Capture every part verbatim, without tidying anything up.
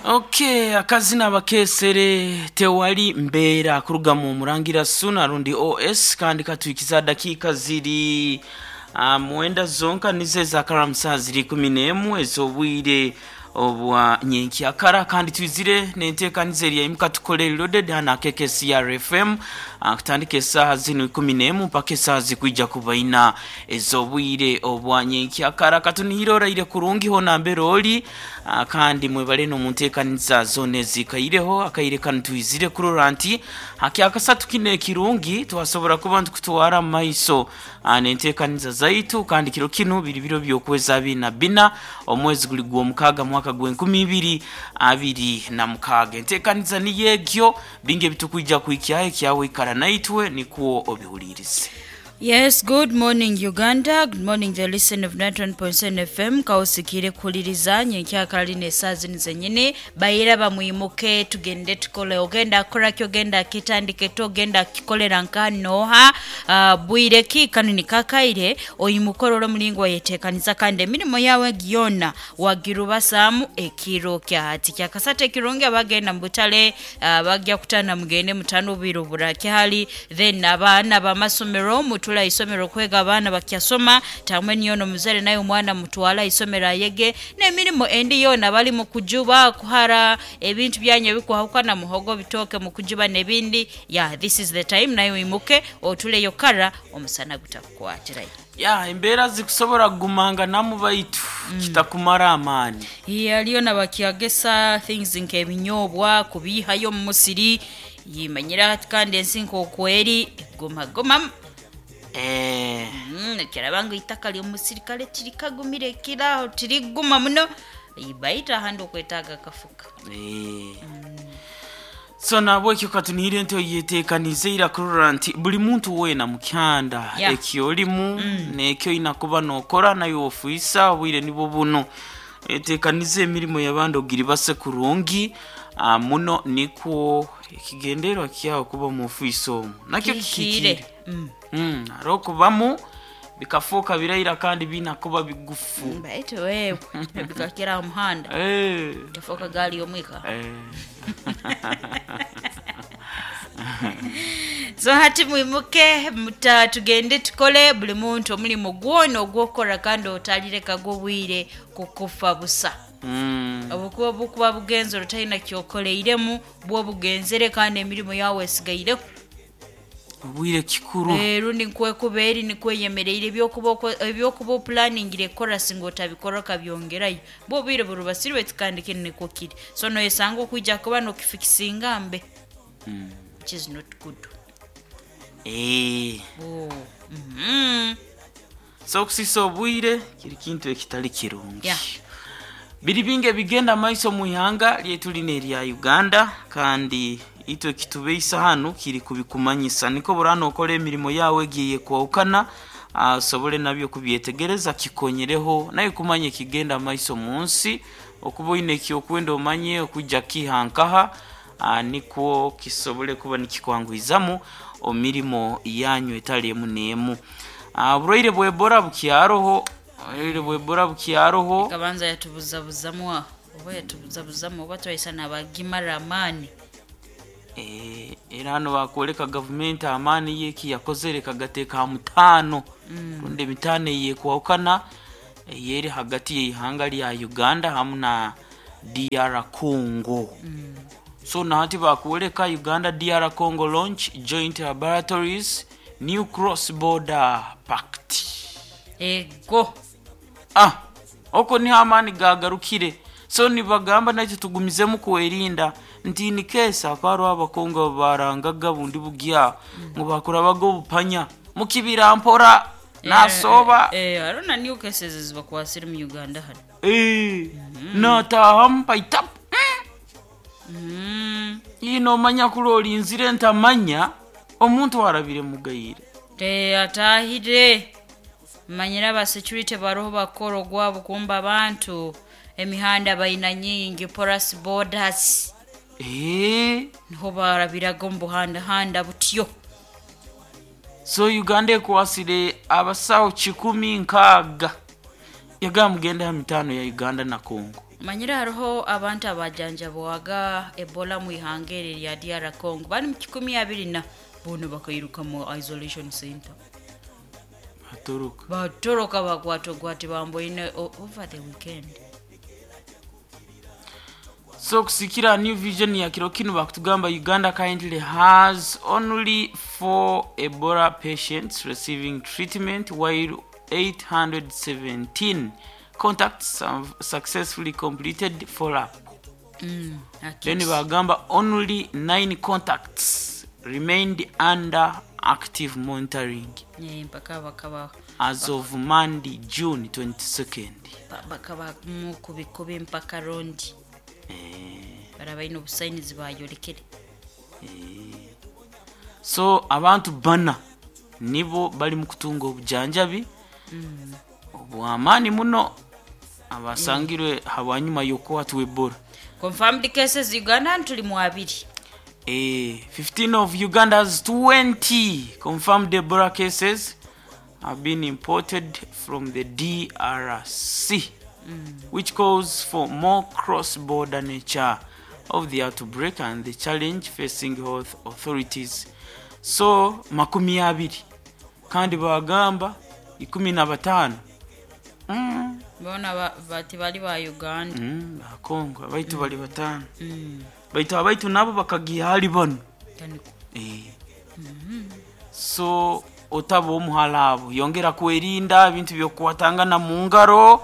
Okay, akazina abakesere tewali mbeera kuruga mu Murangira Suna rundi O S, kandi katuikiza dakiika ziri uh, mwenda zonka nizo ezakaramusa ziri kumi n'emu ez'obwire obwa nyenkyakara, kandi twizire nenteekaniza erya Imuka Tukole Loaded hano akeke C R F M, uh, kutandika esaaha zinu ikumi n'emu mpaka esaaha zikwija kuba ina ez'obwire obwa nyenkyakara. Katunihire oraire kurungi hona mbere ori, uh, kandi mwebale n'omunteekaniza zona ezikaireho. Akaire kanu twizire kurora nti hakyakasatu kino ekirungi twasobora kuba ntukutwara mu maiso uh, nenteekaniza zaitu, kandi kiro kinu biri biro by'okwezi abiri na bina, omwezi guli gw'omukaaga, mwaka gw'enkumi ibiri abiri na mukaaga. Enteekaniza niyo egyo, bingi ebitukwija kuhikyaho. Ekyawe ikara naitwe nikwo obihulirize. Yes, good morning, Uganda. Good morning, the listener of ninety-one point seven F M. Kausikire kuhuliriza nyenkyakala lino esaaha zino zenyini. Bayira bamwimuke tugende tukole. Ogenda kora ki, ogenda kitandike to ogenda kikolera nka noha uh, bwire ki kanu nikakaire oyimukorora omulingo wayetekaniza kandi emirimo yawe gyona wagirubasaamu ekiro kya hati kyakasatu ekirungi. Abagenda mu butale, uh, bajja kutana mugende mutano obwire oburakyali. Then abaana bamasomero mutula isomero kwega, abaana bakyasoma tamwe niyo nomuzere naye omwana mutwala isomero ayege, n'emirimu endi yona bali mu kujuba kuhara ebintu byanyu ebikuhawukana, muhogo, bitooke mukujuba n'ebindi. Yeah, this is the time naye oyimuke otuleyo kara omusana gutakukwatirayo. Ya, embeera zikusobora kugumanga namu, baitu kitakumara amaani. Yaliyo nabakyagesa things nk'ebinyobwa kubihayo mu musiri yimanyira hati, kandi ensi nk'okweri egumagumamu. Eh, Mm, kiraba ngu itaka ly'omusiri kale tirikagumire kiraho tiriguma muno, baita ahandi okwetaaga akafuka. eh. So nabwekyo katunihire nti oyeteekanize ira kurora nti buli muntu weena mukyanda Yeah. ekyolimu nekyo oyina kuba nokora nayo ofuisa obwire nibwo buno, eteekanize emirimu y'abandi ogiribase kurungi, ah, muno nikwo ekigendererwa kyawe kuba mu ofiisi omwo nakyo kihikire. kihikire. Mm. Mm, hariho okubamu bikafuuka biraira kandi binakuba bigufu. Baitu wewe bikakira aha muhanda Eh, yafuuka gaali y'omwika. eh. So hati mwimuke muta tugende tukole, buli muntu omulimu gwona ogwokukora kandi otalireka gwobwire kukufa busa. Mm. Obukuba bukuba bugenzere otalina kyokoleiremu bwo bugenzere kandi emirimu yawe esigaireho. Obwire kikuru. Eh, rundi nkwekuba eri nikweyemereire ebyokuba oko- ebyokuba oplaningire kukora singa otabikora okabyongerayo bwo obwire burubasirwe kandi kinu nikwo kiri, so noyesanga okwija kuba nokifikisinga mbe, which is not good. Eh. Oh. Mhm. So okusisa obwire kiri kintu ekitali kirungi. Yeah. Biri bingi ebigenda maiso mu ihanga lyaitu lino erya Uganda, kandi itwe kitubeisa hanu kiri kubikumanyisa niko burano okora emirimo yawe egiye kwawukana, ah, osobole nabyo kubyetegereza kikonyereho naye kumanya ekigenda maiso mu nsi, okuba oine ekyokwenda omanye okujja kihankaha, ah, nikwo kisobole kuba nikikwanguhizamu omirimo yanyu etali emu n'emu. Ah, oburwaire bwa Ebola bukyaroho, oburwaire bwa Ebola bukyaroho. Kabanza yatubuzabuzamu aho oba yatubuzabuzamu oba twayisa nabagimara amaani. Eh, era hano bakwoleka gavumenti amaani ye ekiyakozere kagateeka ha mutaano rundi emitaano eyekwawukana eyeri hagati y'ihanga lya Uganda hamu na D R Congo. So nahati bakwoleka Uganda D R Congo launch joint laboratories, new cross border pact. Ego. Ah, oko niho amaani gagarukire. So nibagamba nakyo tugumizemu kwerinda nti ni kesa akaba abakongo barangaga bundi bugya ngu bakurabaga obupanya mukibira mpora nasoba. Eh, eh, arona new cases zibakwasire mu Uganda hano. Eh, natahamu paitapu. Mm. Ino omanya kula olinzire ntamanya omuntu arabire mugayire. Eh, atahire manyire aba security baroho bakora ogwabo kumba abantu emihanda bayina nyingi, porous borders. Eh, niho barabiraga omu buhandahanda butyo. So Uganda ekwasire abasawo kikumi nkaaga, yagamba mugende ha mitaano ya Uganda na Congo. Manyire hariho abantu abajanjabwaga Ebola mu ihanga eri lya D R Congo, bali mu kikumi abiri na boona bakairuka mu isolation center. Batoroka. Batoroka, bakwatogwate bamboine o- over the weekend. So kusikira New Vision ya kiro kinu, bakutugamba Uganda currently has only four Ebola patients receiving treatment, while eight hundred seventeen contacts have successfully completed follow-up. mm, Then akisi. bagamba only nine contacts remained under active monitoring Eh, mpaka bakaba as of Monday, June twenty-second. ba- bakaba mukubikubi mpaka rondi bara balina obusainizi bayolekere. So abantu bana nibo bali mu kutunga obujanjabi obwamaani muno, abasangirwe habwanyuma y'okukwatwa Ebola. Confirmed cases Uganda tuli mu abiri. Eh, fifteen of Uganda's twenty confirmed Ebola cases have been imported from the D R C, which calls for more cross-border nature of the outbreak and the challenge facing health authorities. So makumi abiri, kandi bagamba ikumi na batano mm. Bona ba- bati bali ba Uganda. mm, bakongo abaitu bali batano, baitu abaitu nabo bakagiha hali bano. Taniko. Eh. So otaba omuhala abo, yongera kwerinda ebintu byokukwatangana mu ngaro.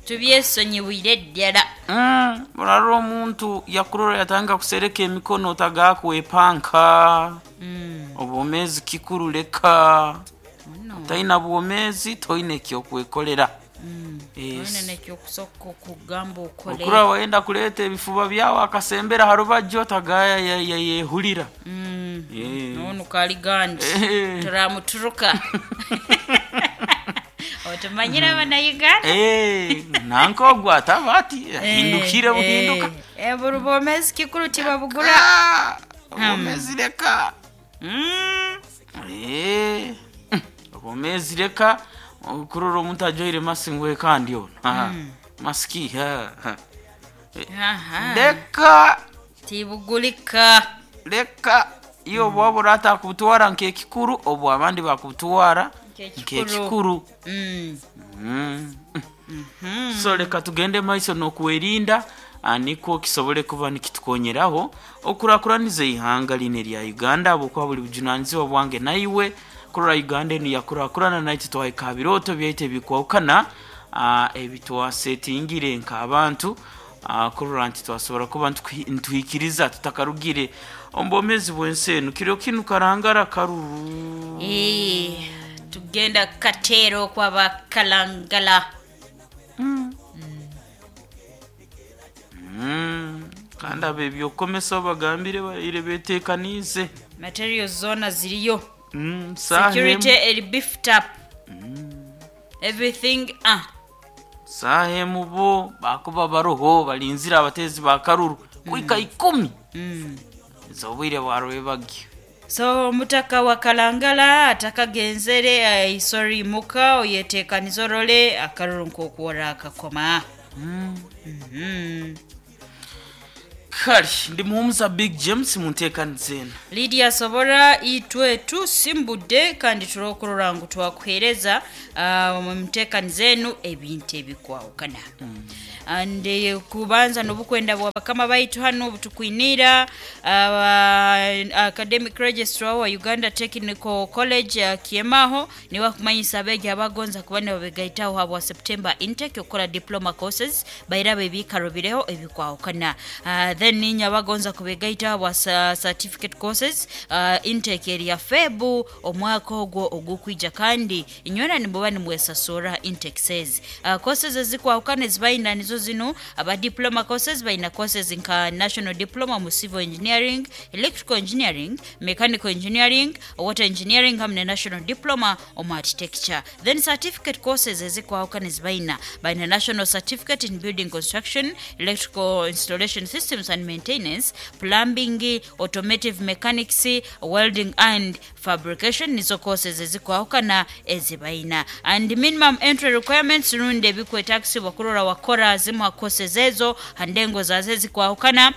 Tubyesonyiwire ddala. Mm, olala omuntu yakurora yatanga kusereka emikono, otagakwepanka. Mm. Obwomezi kikuru, leka. Ono. Talina bwomezi, toyina ekyokwekolera. Mm. Yes. Olina nekyokusooka okugamba okole. Okura wayenda kuleeta ebifuba byawe akasembera harubajjo, tagaya yehulira. Mm. Eh. Ono kali gandi. Eh. Turamuturuka, otumanyire abanauganda. Eh, nanka ogwo ataba ati ahindukire buhinduka. Buli bwomezi kikuru, tibabugura. Ah, obwomezi leka. Mm. Eh, obwomezi leka. Okurora omuntu ajwaire masiki ngwe kandi ono. Aha, masiki ha, ha. Aha. Leka. Tibugulika. Leka, iyo obwaba orata kubutwara nk'ekikuru, obwo abandi bakubutwara Nk'ekikuru. nk'ekikuru. Mm. Mm. So leka tugende maiso n'okwerinda, ah, nikwo kisobole kuba nikitukonyeraho okurakuraniza ihanga lino erya Uganda, habwokuba buli bujunanizibwa bwange naiwe kurora Uganda enu yakurakurana, naitwe twahika birooto byaitu ebikwahukana, ah, ebitwasetingire nk'abantu, ah, kurora nti twasobora kuba ntuhi- ntuhikiriza tutakarugire omu bwomezi bw'ensi enu. Kiro kinu karangara karuru. Eh, tugenda kateero kwaba Kalangala. Mm, kandi abo ebyokukomesa bagambire baire betekanize. Materials zona ziriyo. Mm, saha Security emu- eri beefed up, everything ah. Saha emu bo bakuba baroho balinzire abatezi ba karuru kuika ikumi mm. ez'obwire bwarwebagyo. So omutaka wa Kalangala atakagenzere, eh, sorry, muka oyetekaniza orole akaruru nkokuwora akakoma. mm. mm Kale ndi muhumuza Big James munteekaniza eno. Lydia Sobora, itwe tusimbudde kandi tulokurora ngu twakuheereza uh, mu nteekaniza enu ebintu ebikwawukana and eh, kubanza n'obukwenda bwa bakama baitu hano butukwinira uh, academic registrar wa Uganda Technical College uh, Kiemaho, niwe akumanyisa abeegi abagonza kuba nibabegaitaho habwa September intake okukola diploma courses, bairaba ebiikaro bireho ebikwawukana. uh, then ninya abagonza kubegaitaho habwa sa- certificate courses, uh, intake eri ya Febu omwaka ogwo ogukwija, kandi inywena nimuba nimwesasura intake says. uh, courses ezikwawukana ezibayina nizo zino: aba diploma courses bayina courses nka national diploma mu civil engineering, electrical engineering, mechanical engineering, water engineering hamwe ne national diploma omu architecture. Then certificate courses ezikwawukana ezibayina, bayina national certificate in building construction, electrical installation systems and and maintenance, plumbing, automotive mechanics, welding and fabrication nizo courses ezikwahukana ezibaina. And minimum entry requirements rundi ebikwetagisibwa kurora wakora zimu courses ezo handengo zaze zikwahukana.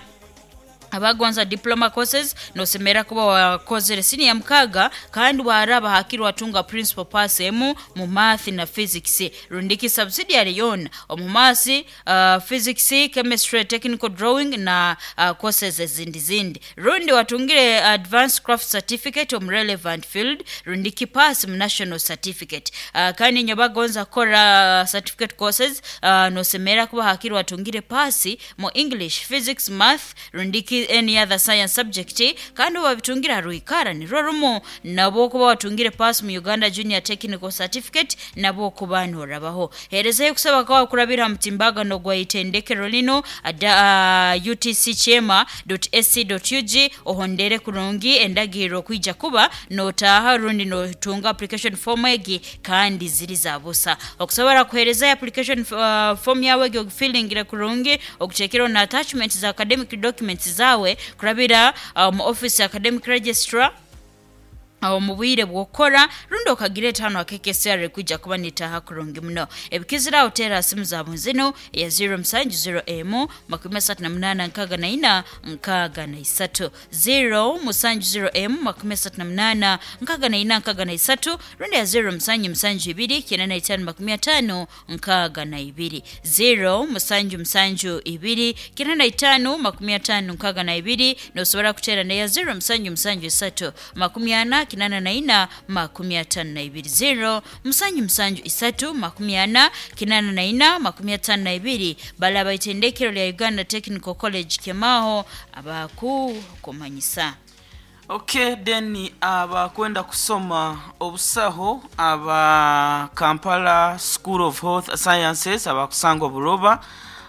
Abagonza diploma courses nosemera kuba wakozere senior mkaga kandi waraba hakiri watunga principal pass emu mu math na physics rundiki subsidiary yon omu math, uh, physics, chemistry, technical drawing na uh, courses ezindi zindi rundi watungire advanced craft certificate omu relevant field rundiki pass mu national certificate. uh, kandi nyo bagonza kora certificate courses uh, nosemera kuba hakiri watungire pass mu English, physics, math rundiki any other science subject kandi wabitungira ruikara ni rumu nabo kuba watungire pass mu Uganda Junior Technical Certificate nabo kuba norabaho. Herezayo kusaba kwa kurabira mtimbagano gwa itendekero lino ada uh, u t c chema dot a c dot u g ohondere kurungi endagiro kwija kuba notaha rundi no tunga application form egi kandi ziri zabusa okusobora kuhereza application uh, form yawe go filling kurungi okuchekero na attachment za academic documents za kurabira mu um, office academic registrar awo mu bwire bwokora rundi okagira etano akekesr kujja kuba nitaha kurungi muno. Ebikizira otera simu za bunzino ya zero musanju zero emu makumi asatu na munana nkaga na ina nkaga na isatu zero musanju zero emu makumi asatu na munana nkaga na ina nkaga na isatu rundi ya zero musanju musanju ibiri kenda na itano makumi atano nkaga na ibiri zero musanju musanju ibiri kenda na itano makumi atano nkaga na ibiri nosobora kutera na ya zero musanju musanju isatu makumi ana kinana na ina makumi atano na ibiri zero musanju musanju isatu makumi ana kinana na ina makumi atano na ibiri. Balaba itendekero lya Uganda Technical College Kemaho abaku kumanyisa. Okay, then abakwenda kusoma obusaho aba Kampala School of Health Sciences abakusangwa Buroba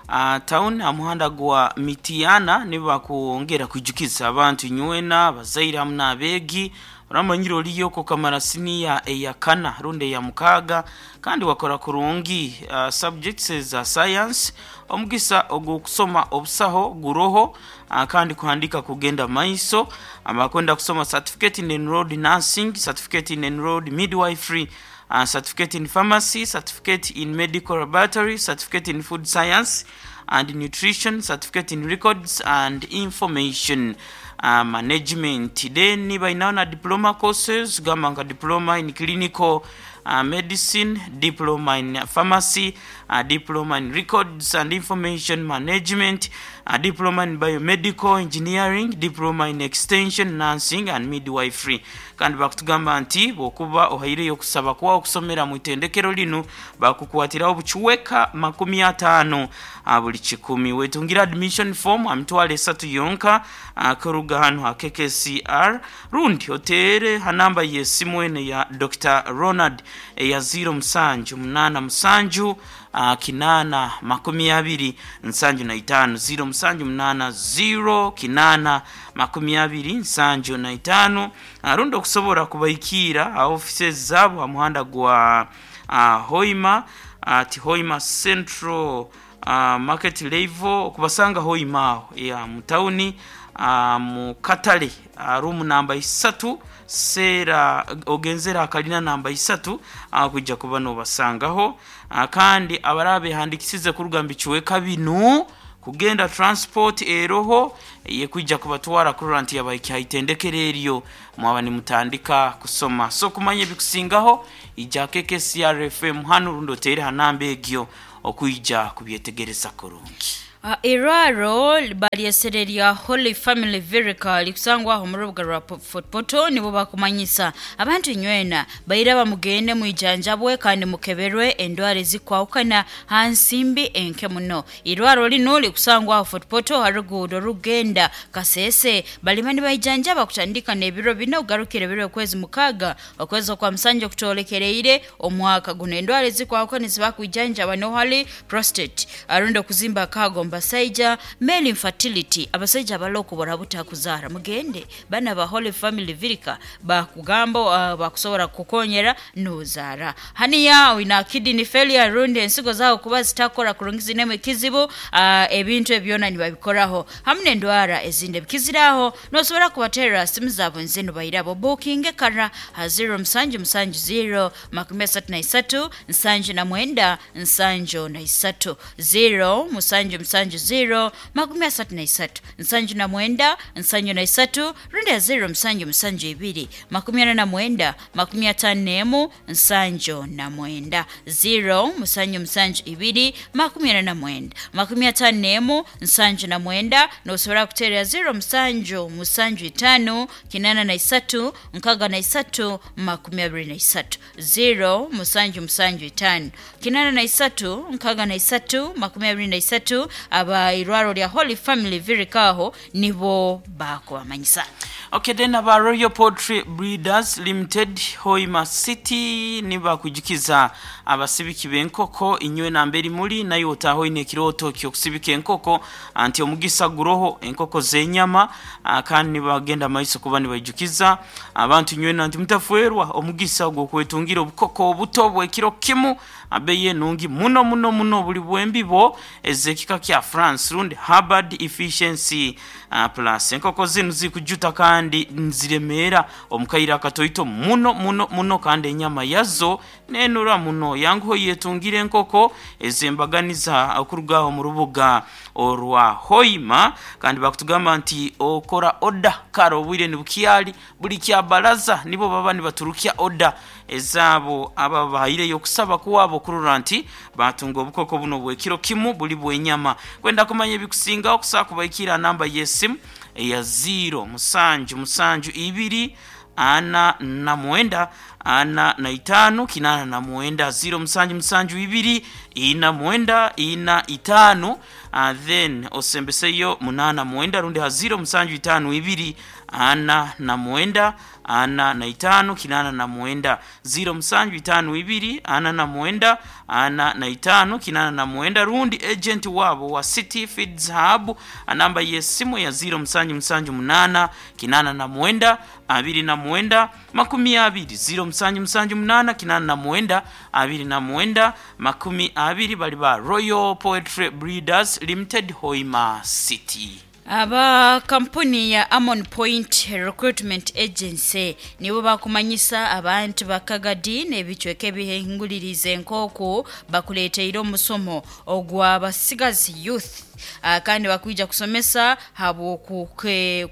uh, town amuhanda gwa Mitiana nibo bakuongera kujukiza abantu nywena bazaire hamwe n'abeegi oramanyire oliyo ko kamara siniya eyakana runde ya mukaga kandi wakora kurungi uh, subjects za science omugisa ogukusoma obusaho guroho uh, kandi kuhandika kugenda maiso abakwenda kusoma certificate in enrolled nursing, certificate in enrolled midwifery, uh, certificate in pharmacy, certificate in medical laboratory, certificate in food science and nutrition, certificate in records and information uh, management. Then bainaona diploma courses gamba nka diploma in clinical uh, medicine, diploma in pharmacy, uh, diploma in records and information management, uh, diploma in biomedical engineering, diploma in extension nursing and midwifery. Kandi bakutugamba nti bwokuba ohaireyo okusaba kwawo okusomera mu itendekero lino bakukwatirawo obukiweka makumi ataano uh, buli kikumi. Wetungira admission form amitwalo esatu yonka uh, kuruga hano ha K K C R rundi otere hanamba y'essimu ene ya Doctor Ronald eya zero musanju munana musanju uh, kinana makumi abiri nsanju na itano zero musanju munana zero kinana makumi abiri nsanju na itano. uh, rundi okusobola kubaikira uh, offices zabo amuhanda gwa uh, Hoima at uh, Hoima Central uh, Market level okubasanga Hoima aho ya mutauni uh, mu katale uh, room namba isatu sera ogenzera akalina namba isatu uh, kujja kuba nobasangaho. uh, kandi abarabe handikisize kurugamba ikiweka binu kugenda transport eroho ye kujja kubatwara kuranti yabaikyaitendekere eryo mwaba nimutandika kusoma. So kumanya bikusingaho ija K K C R F M hano rundo tere hanamba egyo okuija kubyetegereza kurungi. Uh, irwaro balyesererya lya Holy Family Virica likusangwa aho mu rubuga rwa Fort Portal nibo bakumanyisa abantu nywena baira bamugende mwijanjabwe kandi mukeberwe endwara ezikwawukana hansimbi enke muno. Irwaro lino likusangwa aho Fort Portal harugudo rugenda Kasese balimani baijanjaba kutandika n'ebiro bino ugarukire biro kwezi mukaga okwezi kwa msanje kutolekereire omwaka guno. Endwara ezikwawukana zibakwijanjaba no hali prostate arundo kuzimba kago Basaija male infertility, abasaija abaloko barabuta kuzara, mugende bana ba Holy Family Virika bakugamba uh, bakusobora kukonyera nozara. Haniya wina kidney failure rundi ensigo zawo kuba zitakora kurungizi nemwe kizibu, uh, ebintu ebyona nibabikoraho hamwe n'endwara ezindi bikiziraho. Nosobora kubatera simu zabo nzino bairabo booking kara ha zero musanju musanju zero makumi asatu na isatu nsanju na mwenda nsanju na isatu, zero musanju musanju zero makumi asatu na isatu nsanju na mwenda nsanju na isatu, rundi ya zero musanju musanju ibiri makumi ana na mwenda makumi atano n'emu nsanju na mwenda, zero musanju musanju ibiri makumi ana na mwenda makumi atano n'emu nsanju na mwenda. Nosobora kuterera zero musanju musanju itano kinana na isatu nkaga na isatu makumi abiri na isatu, zero musanju musanju itano kinana na isatu nkaga na isatu makumi abiri na isatu. Aba irwaro lya Holy Family Virikaho nibo bakubamanyisa. Okay, then aba Royal Poultry Breeders Limited Hoima City nibakujikiza abasibiki b'enkoko inywe namberi muri nayo otaho ine kiroto kyo kusibika enkoko anti omugisa guroho enkoko z'enyama, kandi nibagenda maiso kuba nibajukiza abantu inywe nanti mutafuerwa omugisa gwo kwetungira obukoko obuto bw'ekiro kimu abeye nungi muno muno muno buli bwembibo ezekika kya France rundi Harvard Efficiency uh, plus. Enkoko zinu zikujuta kandi nziremera omukaira akatoito muno muno muno, kandi enyama yazo nenura muno. Yanguho yetungire enkoko ezembaganiza okurugaho mu rubuga orwa Hoima, kandi bakutugamba nti okora oda karo obwire nibukyali buli kya baraza nibo baba nibaturukia oda ezabo aba bahireyo kusaba kuwabo kurura nti batunga obukoko buno bwekiro kimu buli bwenyama. Kwenda kumanya ebikusinga okusaba kubaikira namba y'esimu eya zero musanju musanju ibiri ana na mwenda ana na itano kinana na mwenda, zero musanju musanju ibiri ina mwenda ina itano, uh, then osembeseyo munana mwenda rundi ha zero musanju itano ibiri ana na mwenda ana na itano kinana na mwenda, zero musanju itano ibiri ana na mwenda ana na itano kinana na mwenda, rundi agent wabo wa City Feeds Hub anamba y'esimu ya zero musanju musanju munana kinana na mwenda abiri na mwenda makumi abiri, zero musanju musanju munana kinana na mwenda abiri na mwenda makumi abiri. Bali ba Royal Poetry Breeders Limited Hoima City. Aba kampuni ya Amon Point Recruitment Agency nibo bakumanyisa abantu bakagadi n'ebicweka ebihinguliriza enkoko bakuleteire omusomo ogwa basigazi youth, uh, kandi bakwija kusomesa habo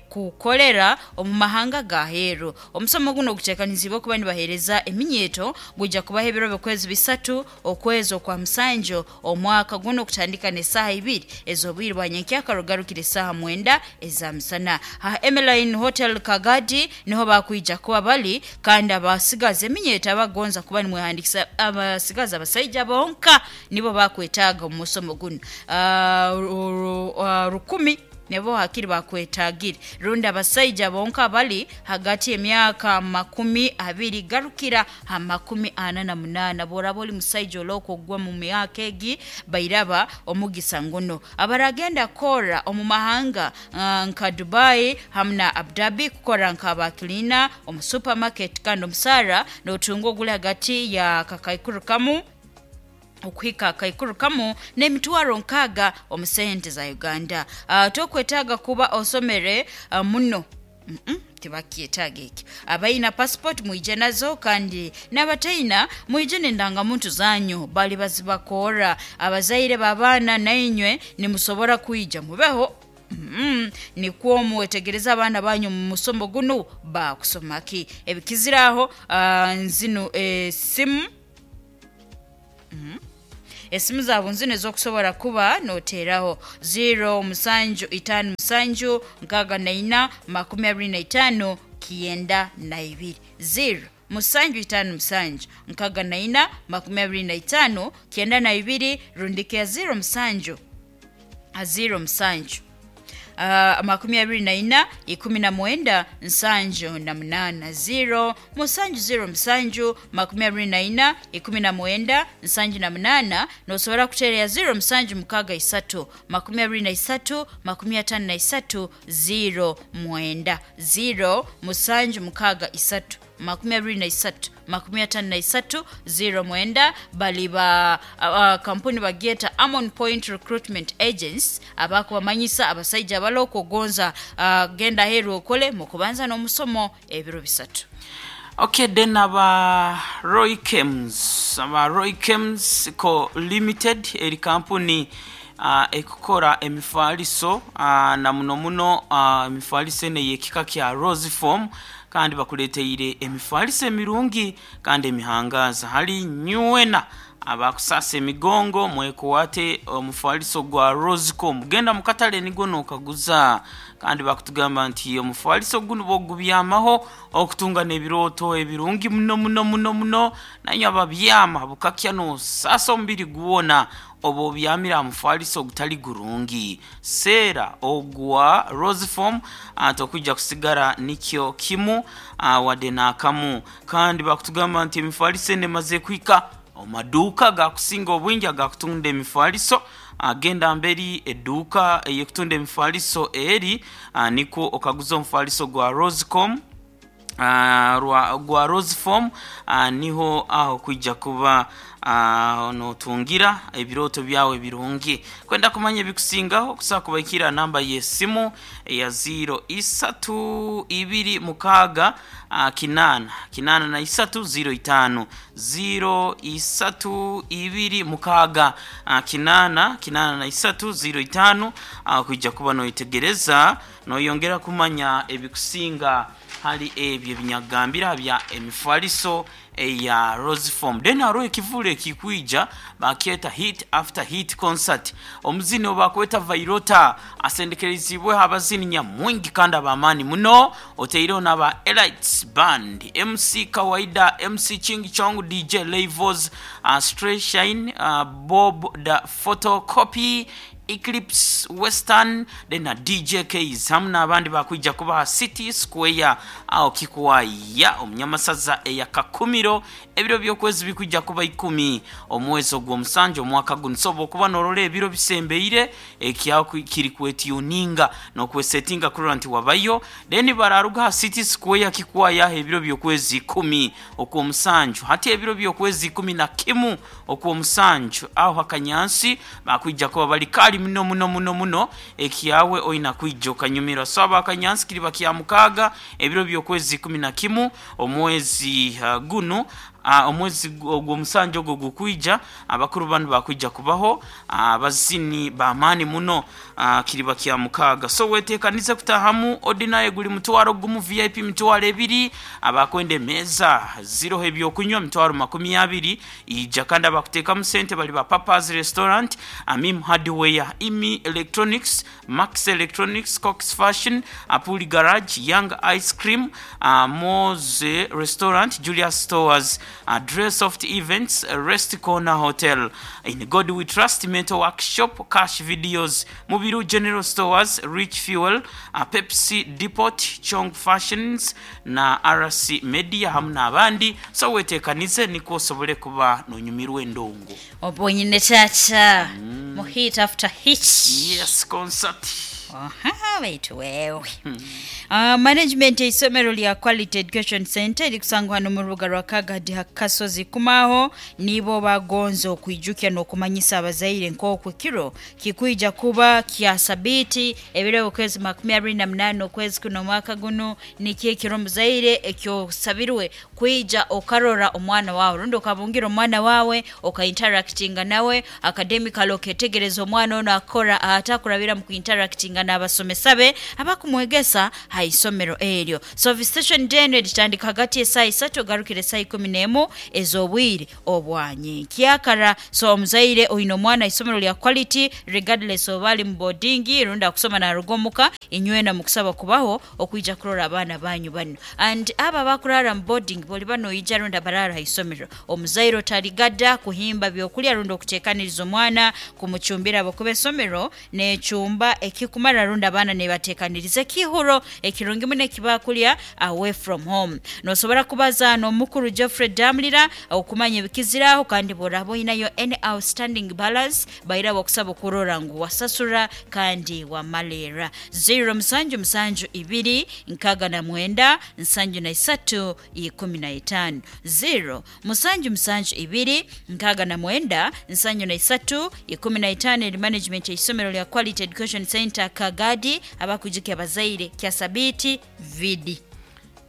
kukolera omu mahanga gaheru. Omusomo guno gutekanizibwa kuba nibahereza eminyeto guja kubaha ebiro by'okwezi bisatu okwezi okwa musanju omwaka guno kutandika n'esaaha ibiri ez'obwire bwa nyenkyaka rugarukira esaaha mwenda eza misana. Ha Emeline Hotel Kagadi niho bakwija kuba bali, kandi abasigaza eminyeto abagonza kuba nimwehandikisa abasigaza abasaija bonka nibo bakwetaaga omu musomo guno. Uh, rukumi nebo hakiri bakwetagire rundi abasaija bonka bali hagati emyaka makumi abiri garukira ha makumi ana na munana. Boraba oli musaija oloko ogwa mu myaka egi bairaba omugisa nguno. Abaragenda kora omu mahanga uh, nka Dubai hamna Abu Dhabi kukora nka abakilina omu supermarket, kandi omusara notunga oguli hagati ya kakaikuru kamu okuhika akaikuru kamu n'emitwaro nkaaga omu sente za Uganda. Uh, tokwetaaga kuba osomere uh, muno mm -mm, tibakyetaaga ekyo. Abaina passport mwije nazo, kandi n'abataina mwije n'endangamuntu zanyu bali bazibakora. Abazaire b'abaana nainywe nimusobora kwija mubeho. Mm, nikwo muwetegereza abaana banyu mu musomo guno bakusomaki ebikiziraho. Uh, nzino esimu mm. esimu zaabo nzino ez'okusobola kuba noteeraho zero musanju itaano musanju nkaaga na ina makumi abiri na itaano kiyenda na ibiri, zero musanju itaano musanju nkaaga na ina makumi abiri na itaano kiyenda na ibiri, rundike ya zero musanju zero musanju uh, makumi abiri na ina ikumi na mwenda nsanju na munana zero musanju zero musanju makumi abiri na ina ikumi na mwenda nsanju na munana. Nosobora kutereya zero musanju mukaga isatu makumi abiri na isatu makumi atano na isatu zero mwenda zero musanju mukaga isatu makumi abiri na isatu makumi atano na isatu zero mwenda. Bali ba uh, kampuni bagyeta Amon Point Recruitment Agents abakubamanyisa abasaija abaloko ogonza uh, genda heru okole mukubanza n'omusomo ebiro bisatu. Okay, then aba Roy Kems, aba Roy Kems Co Limited eri kampuni uh, ekukora emifaliso uh, na muno muno uh, emifaliso ene yekika kya Rose Form, kandi bakuleteire emifaliso emirungi kandi emihangaza. Hali nywena abakusasa emigongo mwekuwate omufaliso gwa Rosecom, genda mukatale nigo nokaguza. Kandi bakutugamba nti omufaliso guno bogubyamaho okutunga n'ebirooto ebirungi muno muno muno muno, naye ababyama bukakya nosasa omubiri guwona oba obyamira omufaliso ogutali gurungi. Seera ogwa Roseform tokujja kusigara nikyo kimu wadde n'akamu. Kandi bakutugamba nti emifaliso eno emaze kwika omaduuka gakusinga obwingi agakutunda emifaliso. Agenda mberi edduuka eyekutunda emifaliso eri nikwo okaguza omufaliso gwa Rosecom uh, gwa Roseform uh, niho aho kwijja kuba uh, notungira ebirooto byawe birungi. Kwenda kumanya ebikusingaho kusobola kubaikira namba y'essimu eya zero isatu ibiri mukaaga uh, kinana kinana na isatu zero itano zero isatu ibiri mukaaga uh, kinana kinana na isatu zero itano uh, kwijja kuba noyitegereza noyongera kumanya ebikusinga hali ebyo binyagambira bya emifaliso eya Roseform. Then hariho ekivule ekikwija bakyeta Hit After Hit Concert. Omuzini obakweta Vairota asendekerezibwe abazini nyamwingi kandi abamani muno, oteireho n'aba Elites Band, M C Kawaida, M C Ching Chong, D J Levos, uh, Stray Shine, uh, Bob the Photocopy, Eclipse Western, then na D J Ks hamu n'abandi bakwijja kubaha City Square aho kikuwaya omunyamasaza eya Kakumiro. Ebiro by'okwezi bikwijja kuba ikumi omwezi ogw'omusanju omwaka guno. So bw'okuba n'orora ebiro bisembeire ekyaho kiri kwetuninga n'okwesetinga kurora nti wabayo. Then bararuga City Square kikuwaya ebiro by'okwezi ikumi okw'omusanju hati ebiro by'okwezi ikumi na kimu okw'omusanju aho hakanyansi bakwijja kuba bali kali muno muno muno muno ekyawe oina kwijja okanyumirwa. So abakanyansi kiri bakya mukaaga ebiro by'okwezi ikumi na kimu omwezi uh, guno uh, omwezi ogw'omusanju ogwo gukwija abakuru banu bakwijja kubaho abazini uh, bamaani muno uh, kiri bakya mukaaga. So weteekanize kutahamu ordinary guli mutwaro gumu, V I P mitwaro ebiri, abakwenda emmeeza ziroho ebyokunywa mitwaro makumi abiri ija. Kandi abakuteekamu sente bali ba Papa's Restaurant, Amim Hardware, Imi Electronics, Max Electronics, Cox Fashion, Apuli Garage, Young Ice Cream, uh, Moze Restaurant, Julius Stores, uh, Dress Soft Events, Rest Corner Hotel, In God We Trust, Mental Workshop, Cash Videos, Mubiru General Stores, Rich Fuel, uh, Pepsi Depot, Chong Fashions na R C Media hamu n'abandi. So weteekanize nikwo osobole kuba nonyumirwa endongo obonyine chacha mm. Mu hit after hit, yes, concert. Aha, waitu wewe. Hmm. Uh, management y'isomero lya Quality Education Center erikusangwa hano mu rubuga rwa Kagadi Kasozi kumaho nibo bagonza okwijukya n'okumanyisa abazaire nk'oku kiro kikwija kuba kya sabiti ebiro okwezi makumi abiri na munana okwezi kuno mwaka guno nikyo ekiro muzaire ekyosabirwe kwija okarora omwana wawe rundi okabungira omwana wawe okainteractinga nawe academically oketegereza omwana ono akora atakurabira mu kuinteractinga n'abasomesa be abakumwegesa haisomero eryo. So visitation day eno eritandika hagati y'esaaha isatu ogarukire esaaha ikumi n'emu ez'obwire obwanyenkyakara. So omuzaire oine omwana isomero lya Quality regardless oba ali mu boarding rundi akusoma naruga omuka inywena mukusaba kubaho okwija kurora abaana banyu bano. And aba abakurara mu boarding boli bano ija rundi abarara haisomero omuzaire otaligada kuhimba byokulya rundi okuteekaniriza omwana kumucumbira abakuba esomero n'ekyumba ekikumara Nebasamara rundi abaana nebateekaniriza ekihuro ekirungi muno ekibakulya away from home. Nosobora kubaza n'omukuru Geoffrey Damlira okumanya ebikiziraho, kandi bworaba oyinayo any outstanding balance baira bakusaba okurora ngu wasasura kandi wamalera. Zero musanju musanju ibiri nkaga na mwenda nsanju na isatu ikumi na itano, zero musanju musanju ibiri nkaga na mwenda nsanju na isatu ikumi na itano. Eri management y'isomero lya Quality Education Center Kagadi abakujukya abazaire kya sabiti vidi.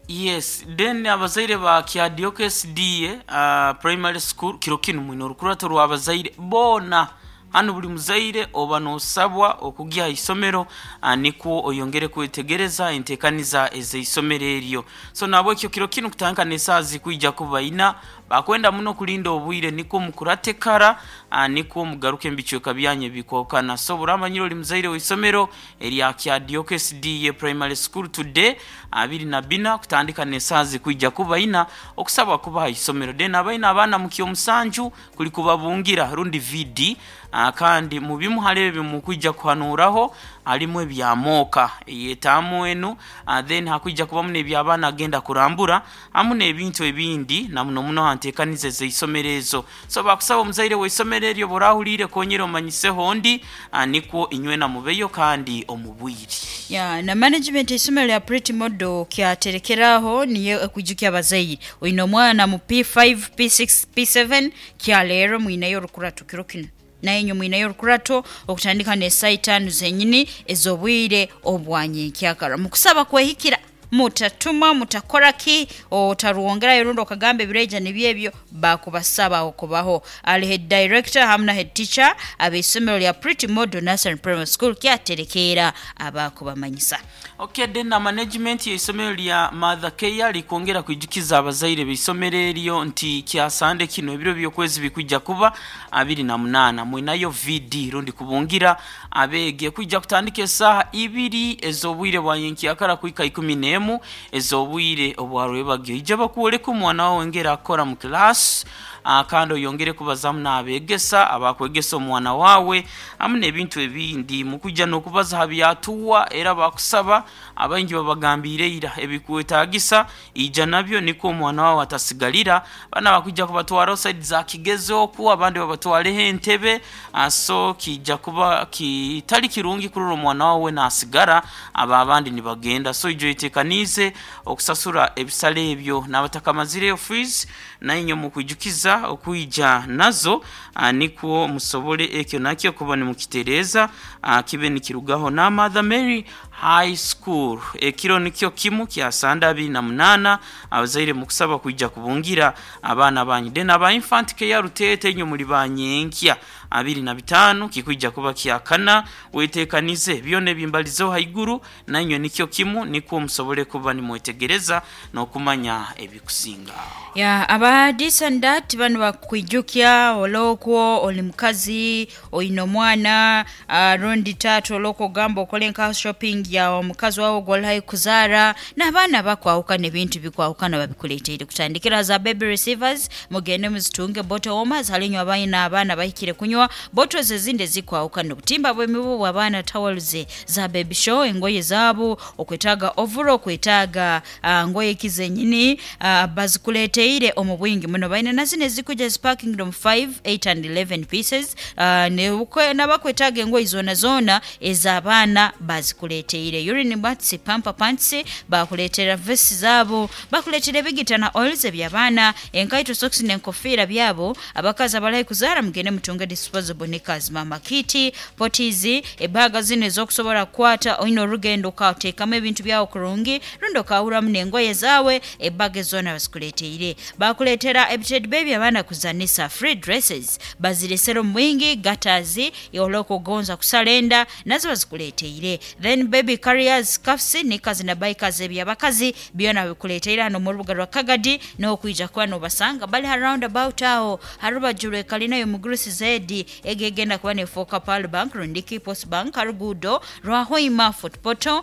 Yes, then abazaire ba Kyadioke S D A uh, primary school, kiro kinu mwine orukurato rw'abazaire boona. Hano buli muzaire oba nosabwa okugya isomero uh, nikwo oyongere kwetegereza entekaniza ez'isomero eryo. So nabwekyo kiro kinu kutandika n'esaaha zikwija kuba ina, bakwenda muno kulinda obwire nikwo mukurate kara uh, nikwo mugaruke mubicweka byanyu ebikwahukana. So buramanyire oli muzaire w'isomero erya Kyadioke S D A primary school, today abiri na bina kutandika n'esaaha zikwija kuba ina, okusabwa kubaha isomero. Then abaina abaana mu kyomusanju kuli kubabungira rundi V D, uh, kandi mu bimu hali ebyo mukwija kuhanuraho halimu ebyamooka eyetaamu enu, uh, then hakwija kubamu n'ebyabaana agenda kurambura hamu n'ebintu ebindi na muno muno hanteekaniza ez'isomero ezo. So bakusaba omuzaire w'isomero eryo borahuriire konyera omanyiseho ndi uh, nikwo inywena mubeyo kandi omubwiri. Ya na management isomero lya Pretty Model kyaterekeraho niyo ekwijukya abazaire oyina omwana mu P five, P six, P seven, kya leero mwinayo orukurato kiro kino, naye nyo mwinayo orukurato okutandika n'esaa itaano zenyini ez'obwire obwanyenkyakara. Mukusaba kwehikira, mutatuma mutakora ki otaruwongerayo rundi okagamba ebireja nibyo ebyo bakubasaba okubaho. Ali head director hamu na head teacher ab'isomero lya Pretty Model Nursery Primary School kyaterekeera abakubamanyisa. Okay, then na management y'isomero lya Mother Care likwongera kwijukiza abazaire b'isomero eryo nti kyasande kino ebiro by'okwezi bikwijja kuba abiri na munaana, mwinayo V D rundi kubungira abeege kwijja kutandika esaaha ibiri ez'obwire bwa nyenkyakara kuhika ikumi n'emu ez'obwire obwarwebagyo. Ija bakwoleka omwana wawe ngera akora mu class, uh, kandi oyongere kubazamu n'abeegesa abakwegesa omwana wawe hamu n'ebintu ebindi. Mukujja n'okubaza ha byatuwa, era bakusaba abaingi babagambiire ira ebikwetagisa ija nabyo nikwo omwana wawe atasigalira. Bana bakwijja kubatwara side za Kigezo oku abandi babatwareho entebe, uh, so kijja kuba kitali kirungi kurora omwana wawe nasigara aba abandi nibagenda. So ijo itekanize okusasura ebisale ebyo n'abatakamazireyo fees, nainyo mukwijukiza okwija nazo, uh, nikwo musobole ekyo nakyo kuba nimukitereza, uh, kibe nikirugaho. Na Mother Mary High School ekiro nikyo kimu kya sanda abiri na munaana, abazaire mukusaba kwijja kubungira abaana banyu. Then aba Infant Care Rutete, inyo muli banyenkya abiri na bitaano kikwijja kuba kyakana. Wetekanize byona ebimbalizeho haiguru, nainywe nikyo kimu nikwo musobole kuba nimwetegereza n'okumanya ebikusinga. Ya aba this and that bano bakwijukya olokwo oli mukazi oyina omwana uh, rundi taata, olwokwo ogamba okole nka shopping ya omukazi wawe gwolayi kuzaara n'abaana bakwawukana, ebintu bikwawukana, babikuleteire kutandikira za baby receivers, mugende muzitunge, bottle warmers halinywa abaina abaana bahikire kunywa, bottles ezindi ezikwawukana, obutimba bw'emibu bw'abaana, towels za baby show, engoye zaabo, okwetaaga overall, okwetaaga uh, ngoye ki zenyini, uh, bazikuleteire omu bwingi muno. Balina nazino ezikuja ziparking mu five, eight and eleven pieces, uh, ne- nabakwetaaga engoye zona zona ez'abaana bazikuleteire, urine mats, pamper pants, bakuleetera vesti zaabo, bakuleetera ebigita na oils eby'abaana, enkaito, socks n'enkofiira byabo. Abakazi abalayi kuzaara mugende mutunge disposable knickers, mama kit, potties, ebaga zino ez'okusobola kukwata oyina olugendo okateekamu ebintu byawo kurungi rundi okawuramu n'engoye zaawe, ebaga ezona bazikuleteire. Bakuleetera ebitedi bebi abaana kuzanisa, free dresses baziresera omu bwingi, gatas olwokugonza kusala enda nazo bazikuleteire, then baby carriers, cuffs, knickers na bikers ebyabakazi byona bikuleteire hano mu rubuga rwa Kagadi n'okwija kuba nobasanga bali ha roundabout aho harubaju lwekalinayo mugurusi zedi egegenda kuba nefoka Pearl Bank rundiki Post Bank harugudo rwa Hoima Fort Portal.